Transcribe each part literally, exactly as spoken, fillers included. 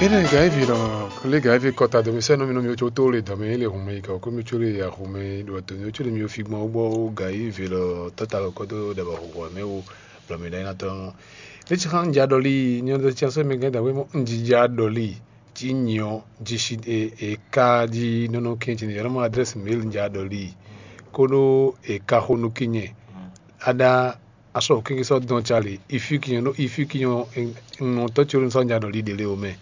Ene gǎnyiví lɔ, lé gǎnyiví kɔta dɔmɛ sɛ́ nú mì nú mì có tó le dɔmɛ é le hǔnmɛ yi kɔ kó mì có le ya hǔnmɛ ɖo dɔmɛ có le mì fi gbɔn gbɔ gǎnyiví lɔ tɔ́ta lɔ kɔ dó ɖabɔ hǔhú mɛ wo blɔ mì ɖɔ ná tɔn. Ní tsi xá un ja ɖɔlí nyɔ ɖɔ tsi asɔ mɛ gɛ́ dǎwe mɔ un jija ɖɔlí cí nyɔ jí sí e e ka jí nɔnɔ kɛn tsi ní yɔrɔ mɔ adrɛ́si mail un ja ɖɔlí kóɖó e ka xó nú kí nyɛ. Aɖa asɔ kéké sɔ́ dɔn cali ifi kinyɔ ifi kinyɔ nɔ tɔ́ tsi sɔ́ nya ɖɔ líɖe lé o mɛ.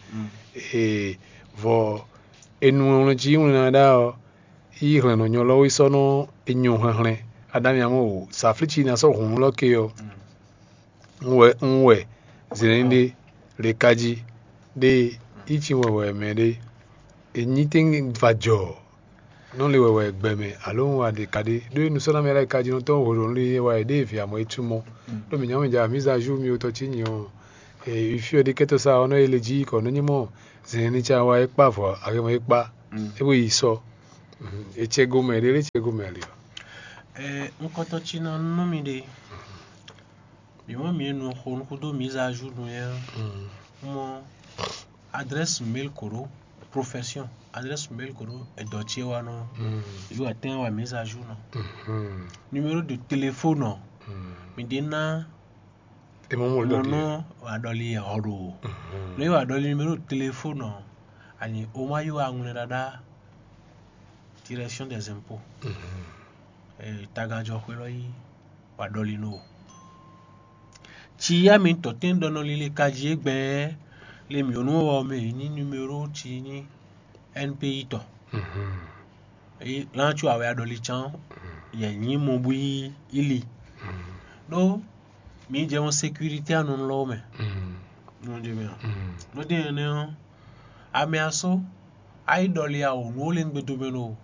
Ee, vɔ enu wlɔn jí wlin na ɖá ɔ, yi hlɛn nɔ nyɔ lɔ wí sɔ́ nɔ enyɔ hlɛnhlɛn. Aɖami amɔ o saflítsi na sɔ́ hǔn lɔ ke ɔ, un wɛ un wɛ zɛnɛn ɖé le ka jí ɖe yi tsi wɛ wɛ mɛ ɖé. Enyi tɛn va jɔ nɔ le wɛwɛ gbɛ mɛ alo un wa ɖe ka ɖe ɖó nusɔ́namɛ lɛ́ɛ ka jí nɔ tɔn hwenu lí wa ɖe vi amɔ e cú mɔ ɖó mǐ nyɔ́ mǐ ja mǐ za ju mì wotɔ cí nyi ɔ e fí ɔ ɖi kɛtɔ sa ɔnɔ ele jí kɔ nɔ nyí mɔ zɛn ní tsa wa e kpa vɔ aɣe mɔ e kpa e bo yi sɔ e cɛ go mɛ ɖe lé cɛ go mɛ ali ɔ. Ɛ, ŋkɔtɔ tsi nɔ nú mi ɖe. Mi mɔ mi nu xo nu kudo mi za ju nu yɛ. Mɔ adresse mail koro profession adresse mail koro edɔ tsi wa nɔ yi wa tɛn wa mi za ju nɔ. Numéro de téléphone ɔ mi de na Emo mo lɔ mɔ di. nɔ wa ɖɔli yɛ hɔ ɖo. Ne wa ɖɔli numéro de téléphone ɔ ani o ma yi wa ŋlɛ ɖaɖa direction des impôts. Tagajɔ xwe lɔ yi wa ɖɔli nɔ. Tsi ya mi tɔ tɛn ɖɔ nɔ lile kaji egbɛ le mi onu wɔ mɛ yi ni numéro tsi ni N P I tɔ. Eyi lan tso awɛ aɖɔli can yɛ nyi mɔ bu yi ili. Ɖó mi jɛ wɔn sécurité anɔ lɔ mɛ. Nɔ jɛ mɛ. Nɔ de ɛnɛ ɔ ame asɔ ayi ɖɔli awo nu wo le ŋgbe do mɛ lo.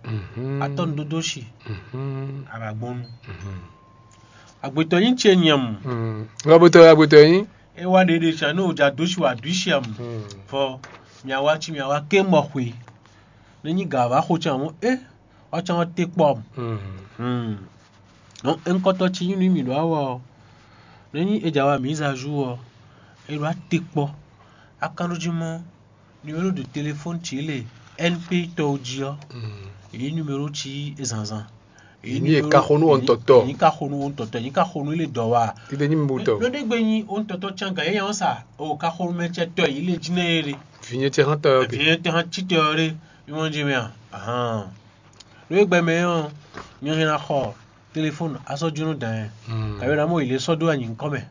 Atɔ nu dodo si. Abagbɔnu. Agbetɔ nyi ce nyam. Agbetɔ agbetɔ nyi. E wa ɖeɖe can ne o ja do si wa du si am. Vɔ mia wa ci mia wa ke mɔ xwe. Ne nyi ga va xo can mo e wa can wa te kpɔ am. Ŋkɔtɔ ci nyi nu mi ɖo awɔ ɔ. Ne nyi e ja wa mi za zu ɔ e ɖo ate kpɔ. Akanɖoji mɔ numéro de téléphone ci le N P tɔwo jí ɔ. Yi numéro ci e zanzan. Yi e ka xo nú wɔ ŋutɔtɔ. Yi ka xo nú wɔ ŋutɔtɔ yi ka xo nú le dɔ wa. Ti de nyi mi bu tɔ. Ɖo ɖe gbe nyi wɔ ŋutɔtɔ can ga yɛ yan sa o ka xo nú mɛ cɛ tɔ yi le jí nɛ ye ɖe. Vinyɛ tɛ hã tɔ yɔ ke. Vinyɛ tɛ hã ci tɔ yɔ ɖe. Mi mɔ jí mi a. Ahan. Ɖo egbe mɛ ɔ nyɔ hɛn na xɔ téléphone asɔ jónú dan yɛ. Kabi na mɔ yi le sɔ ɖo anyi ŋkɔ mɛ.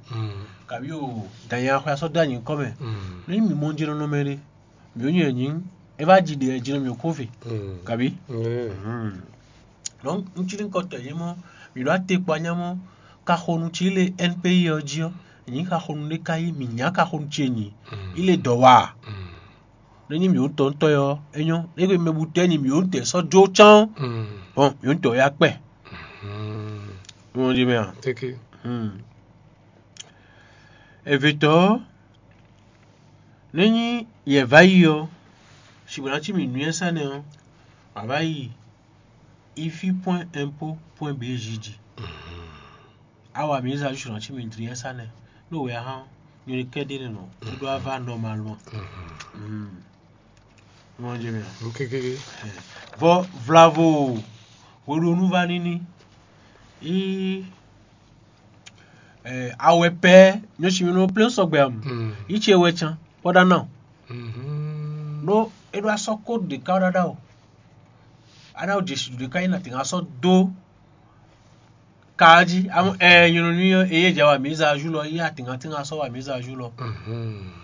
Kabi o dan yɛ axɔ asɔ ɖo anyi ŋkɔ mɛ. Ne mi mɔ jí nɔ nɔ mɛ ɖe. Mi ò nyi ɛnyi. E va ji ɖe ɛ jí nɔ mi ò kó ve. Kabi. Donc ŋutsu ní kɔtɔ yé mɔ mi ɖo ate kpɔ anya mɔ kaxonu ci le N P I ɔ jí ɔ nyi kaxonu ɖe ka yi mi nya kaxonu ci enyi yi le dɔ wa ne nyi mi ò tɔ ŋutɔ yɔ enyɔ ne gbe mɛ bu tɛ nyi mi ò tɛ sɔ jo can bon mi ò tɔ ya kpɛ wọn di mɛ a Teke. Evetɔ ne nyi yɛ va yi ɔ sigbe na ci mi nuyɛ sɛnɛ ɔ a va yi ifi point impôt point B J ji. Awa mi zã ju sɔnɔ ci mi dri yɛ sa nɛ. No wɛ ahan nyɔ kɛ de ne nɔ kudo ava normalement. Mɔ jɛ mi. Nukekeke. Vɔ vlavo hweɖonu va nini. Yi awɛ pɛ nyɔ si mi no plein sɔgbe am. Yi ce wɛ can pɔda na. No e ɖo asɔ ko ɖeka ɖaɖa o. Aɖa o jesu ɖeka yi na tɛn asɔ do. Kaaji amɔ ɛɛ nyɔnɔ nui ɔ eye dza wa mi za ju lɔ yi atinga tinga sɔ wa mi za ju lɔ.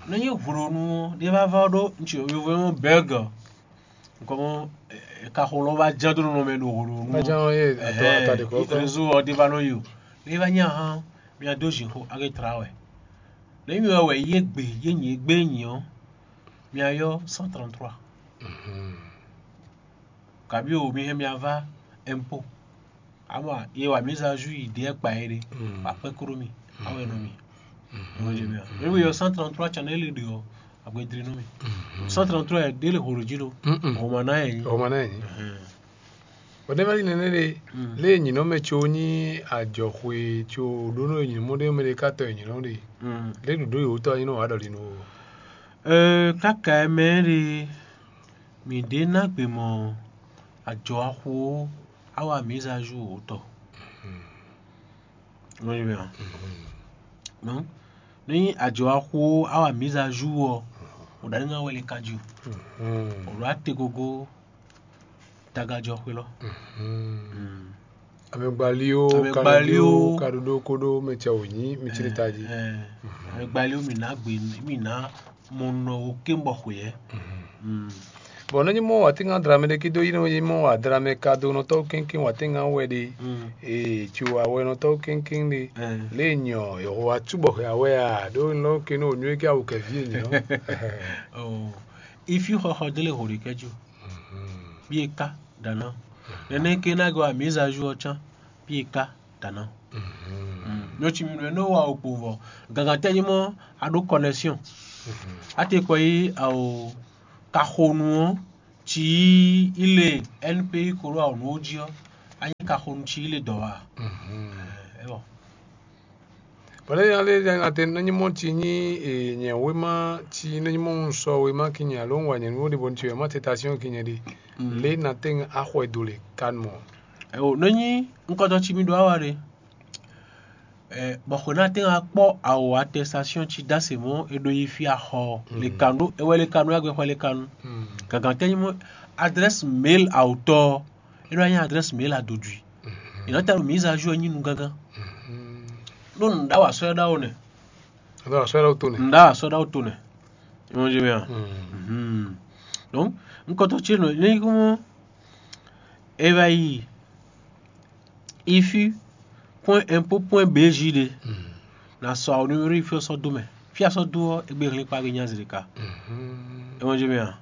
Ne nyi hwlonu ɔ ɖe va va ɖo ŋtsi yovo mɔ bɛg. Nkɔmɔ kaxo lɔ va dza do nɔ mɛ ɖo hwlonu ɔ. Madjan ye atɔ ata de kɔ. Réseau ɔ ɖe va nɔ yi o. Ne va nyi ahan mia do zinxo ake tra wɛ. Ne nyi wɛ ye gbe ye nyi gbe nyi ɔ mia yɔ cent trente-trois. Kabi o mi hɛn mia va impôt. Ama ye wa mi za ju yi ɖe kpa ye ɖe. Akpɛ kro mi awɛ nɔ mi. Ewé yɔ cent trente-trois can ele ɖe ɔ agbedri nɔ mi. Cent trente-trois yɛ ɖe le holo ji ɖo. Homa na yɛ nyi. Homa na yɛ nyi. O ɖe ma li nɛnɛ ɖe. Le nyinɔ mɛ tso nyi adzɔxwe tso ɖo nɔ nyinɔ mɔ ɖe mɛ ɖe ka tɔ nyinɔ ɖe. Le ɖoɖo yi wotɔ nyinɔ wa ɖɔ li nɔ. Ɛɛ, káka ɛ mɛ ɖe, mǐ ɖe ná gbe mɔ ajɔ axu ó, awa mǐza ju wǒtɔ. Nɔ yi mɛ a? Nɔ, ní ajɔ axu ó, awa mǐza ju ɔ, o ɖa ní ná wɛ lé ka ju. O ɖo ate gogo tagajɔ xwé lɔ. Amɛgbali ó, Amɛgbali ó. Kaɖuɖo kóɖó mɛ cɛ wò nyí mi cí ɖe tají. Amɛgbali ó, mǐ ná gbe, mǐ ná mɔ nɔ wo kébɔ xweyɛ. Bɔn nɔ nyí mɔ wà tínga dra mɛ ɖé kí dó yí nɔ nyí mɔ wà dra mɛ ka dó nɔtɔ́ kéŋkéŋ wà tínga wɛ ɖe. Ee, tso awɛ nɔtɔ́ kéŋkéŋ ɖe. Lě nyɔ yɔ̀wɔ wá cúbɔ hɛ awɛ a ɖó nɔ ké nɔ nywé kí awu kɛ ví nyɔ. Ifi xɔxɔ délé hǒ ɖe kɛjú. Bí e ká dana. Nɛnɛ ké ná gɔ amǐzazu ɔ cán. Bí e ká dana. Nɔ ci mi nɔ wa o kpo vɔ. Gangantɛ nyí mɔ a ɖó connexion. A te kɔ yi awo kaxonu ɔ́, ci yi ile N P I kolo awo nǔ jí ɔ́, a nyí kaxonu ci ile dɔ̌ wa. Ɛwɔ. Bɔn lé nya lé nya te nɔ nyí mɔ ci nyí nyɛ wéma ci nɔ nyí mɔ un sɔ wéma ki nyɛ alo un wa nyɛ nú ɖe bɔ un ci wéma te ta syɔn ki nyɛ ɖe. Lé na te axɔ e do le kan mɔ. Ɛwɔ nɔ nyí nkɔtɔ ci mi ɖo awa ɖe. Bɔ xwe ná tɛ́n wá kpɔ́ awo atɛstásyɔn ci dó asě mɔ̌ è ɖo yi fí axɔ ɔ́, lekanu é wɛ lekanu é agbɛxɔ lekanu. Gǎgǎn tɛ́ nyí mɔ̌ adrɛ́si mail awotɔ ɔ́, é nɔ wá nyí adrɛ́si mail adodwi. È nɔ ta ɖo mǐza ju ɔ́ nyí nu gángan. Ɖó nǔɖawa sɔ́ ɛ ɖawo nɛ. Nǔɖawa sɔ́ ɛ ɖawo to nɛ. Nǔɖawa sɔ́ ɛ ɖawo to nɛ. Ìmọ̀ jẹ́ mi à. Donc, nukɔntɔ ce nɔ ní kó mɔ é wá yi ifi point impôt point B J ɖe. Na sɔ awo numéro ifi ɔ́ sɔ́ dó mɛ. Fí a sɔ́ dó ɔ́, égbé hɛn kpa gbe nyazi ɖeka. Ìmọ̀ jẹ́ mi à.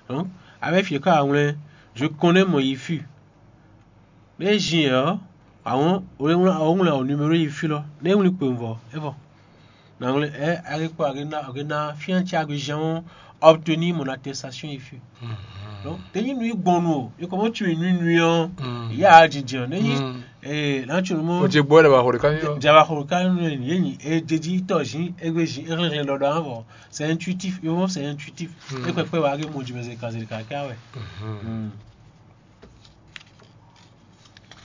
Donc, avec fieka awlɛn, je connais mon ifi. Bɛ zin ɛ ɔ́, àwọn wlɛ́nwlɛ́n àwọn wlɛ́n àwọn numéro yi fí lɔ, ne wlí kpowun vɔ, é vɔ. Na wlɛ́n ɛ, a ke kpɔ a ke ná a ke ná fián ci a ke zhɛn ɔ́, obtenir mon attestation ici. Donc, te nyí nu yi gbɔn nu o, e kɔ mɔ tsu yi nu nu ɔ́, ya a jinjɛn ne yi ee na tsu nu mɔ. O je gbɔ ɖe ba xɔ ɖeka nyɔ. Jaba xɔ ɖeka nyɔ ye nyi e jeji tɔ zin egbe zin e xlɛn xlɛn ɖɔɖɔ an vɔ. C'est intuitif, e mɔ c'est intuitif. E kpɛkpɛ wa ke mɔ jumɛn zeka zeka kɛ awɛ.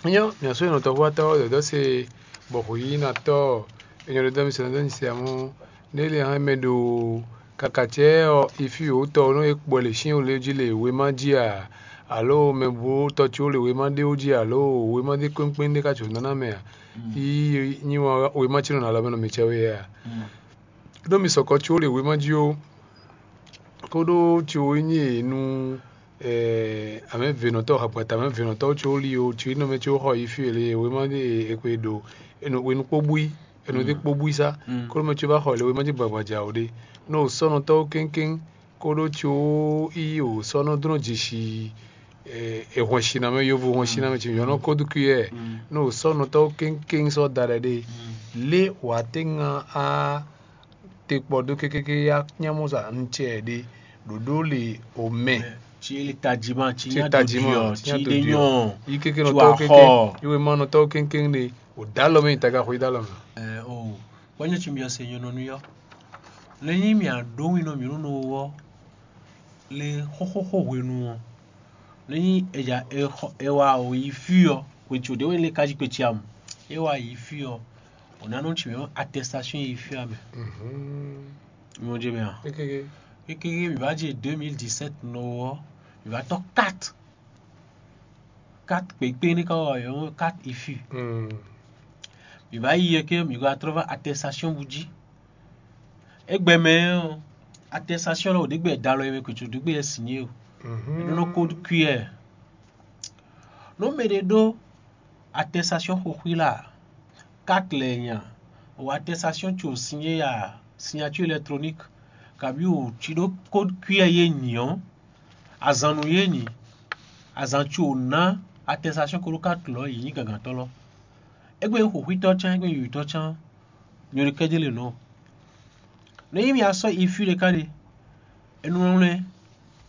Nyɔ mia só nɔ tɔxuatɔ dɔdɔ se bɔ xo yi na tɔ enyɔ ɖe dɔ mi sɛ nɔ dɔ nyi se amɔ ne le hɛn mɛ ɖo kakacɛ ɔ ifi o tɔ nɔ e kpɔ le sin o le ji le wema ji a alo mɛ bu tɔ ci o le wema ɖe o ji alo wema ɖe kpɛnkpɛn ɖe ka tso nana mɛ a yi nyi wa wema ci nɔ na lɔ mɛ nɔ mi cɛ we a ɖo mi sɔkɔ ci o le wema ji o kóɖó ci o nyi e nu amɛvɛnɔtɔ hagbata amɛvɛnɔtɔ tso li o tso inɔ mɛ tso xɔ yi fi ele wema de ekpe ɖo enu wenu kpó bui enu de kpó bui sa kóɖó mɛ tso va xɔ ele wema de gbagbaja o ɖe no sɔnɔtɔwo kéŋkéŋ kóɖó tso yi o sɔnɔ dɔnɔ dzesi ehɔn sinamɛ yovo hɔn sinamɛ tso yɔnɔ kódó kuyɛ no sɔnɔtɔwo kéŋkéŋ sɔ da ɖe ɖe lé wà tɛ ŋa a te kpɔ dó kékéké ya nyamúza un cɛ ɖe ɖoɖó le o mɛ. Tí ele tajima, tí Tí nya tajima, dodiɔ, tí tí nya ɖe dodiɔ. Nyɔ, Yi kéké tí nɔ wa tɔwo kéké, xɔ. Yi wema nɔ tɔwo kéké ɖe. O da lɔ mɛ yi taga xɔ yi da lɔ mɛ. Ɛ o, kpɔnyɔ tí mi ɔsɛ nyɔ nɔ nuyɔ. Lɛ nyi mi aɖó wi nɔ mi nɔ nɔ wɔ. Le xóxóxó hwenu ɔ. Lɛ nyi eja exɔ ewa o yi fi ɔ, kpetso ɖe wɛ le kaji kpetsi amu. Ewa yi fi ɔ, o na nɔ tsi mɛ attestation yi fi amɛ. Mɔ jɛ mɛ a. Kéké. Kéké mi va dzi deux mille dix-sept nɔ wɔ, mi va tɔ quatre. Quatre kpekpe ne ka wɔ yɔ quatre ifi. Mi va yi yɛ ke mi va trɔ va attestation bu dzi. Egbɛ mɛ ɔ, attestation lɔ o ɖe gbɛ da lɔ yɛ mɛ kutsu ɖe gbɛ yɛ signé o. Nɔ ko cuillère. Nɔ mɛ ɖe ɖo attestation xoxwi la, quatre lɛ nya, o attestation tso signé ya signature électronique, kabi o tsi ɖo code cuillère ye nyi ɔ, azan nu ye nyi, azan tso na attestation ko ɖo quatre lɔ yi nyi gangantɔ lɔ. Egbe xoxwitɔ chan, egbe yuyutɔ chan, nyɔ ɖe kɛdze le nɔ. Ne yi mi asɔ ifi ɖeka ɖe, enu wlɛn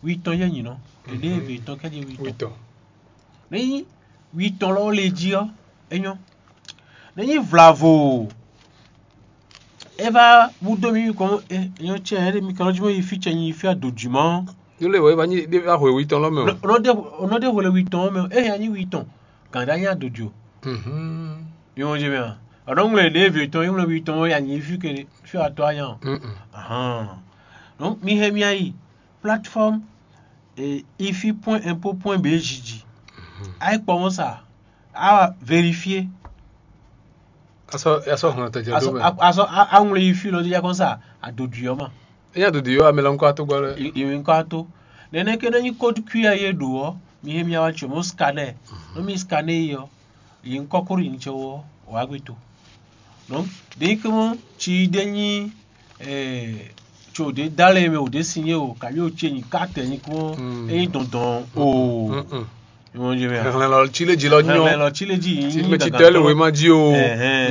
witɔn yɛ nyi nɔ. Ɖeɖe eve tɔn kɛdze witɔn. Witɔn. Ne yi witɔn lɔ le jí ɔ, enyɔ. Ne yi vlavo. É va wú dó mì kɔn, é nyɔ́ cɛ, é ɖe mi kan jí mɔ yi fí cɛ nyi fí adǒjúmɔ. Yó lé wɔ é va nyi ɖé va hwɛ wi tɔn lɔ mɛ o. Nɔ ɖe nɔ ɖe hwɛ wi tɔn mɛ, é ya nyi wi tɔn. Gǎn ɖé nyi adǒjɔ. Mhm. Mi mɔ jí mɛ a? Ɔnɔ ŋlɛ ɖě vě tɔn, ŋlɛ wi tɔn ya nyi fí ke fí atɔ anya o. Mhm. Ahan. Donc mi hɛn mi ayi plateforme, eh, ifi point info point bj jí. Ayi kpɔ mɔ sa, a vérifier. Asɔ asɔ hɔn tɛ jɛ do mɛ. Asɔ a ŋlɛ ifi lɔ dija kɔn sa adodui ɔ ma. Eya dodi yɔ amɛ lɔ ŋkɔ ato gbɔ lɛ. Iwe ŋkɔ ato. Nɛnɛ ke ɖe nyi code Q R ye ɖo ɔ, mi he mi awa tso mo scanner. No mi scanner yi ɔ, yi ŋkɔ koro yi ŋtsɛ wɔ, wa gbe to. Donc ɖe ke mɔ tsi ɖe nyi, eh, tso ɖe da lɛ mɛ o ɖe si nye o, kabi o tse nyi carte nyi kɔn, eyi dɔndɔn o. Ìwọ̀n jẹ́ mi à. Hɛnlɛn lɔ tsi lé jí lɔ nyɔ. Hɛnlɛn lɔ tsi lé jí yín. Tí mɛ tsi tɛ lé wema jí o. Ɛhɛn.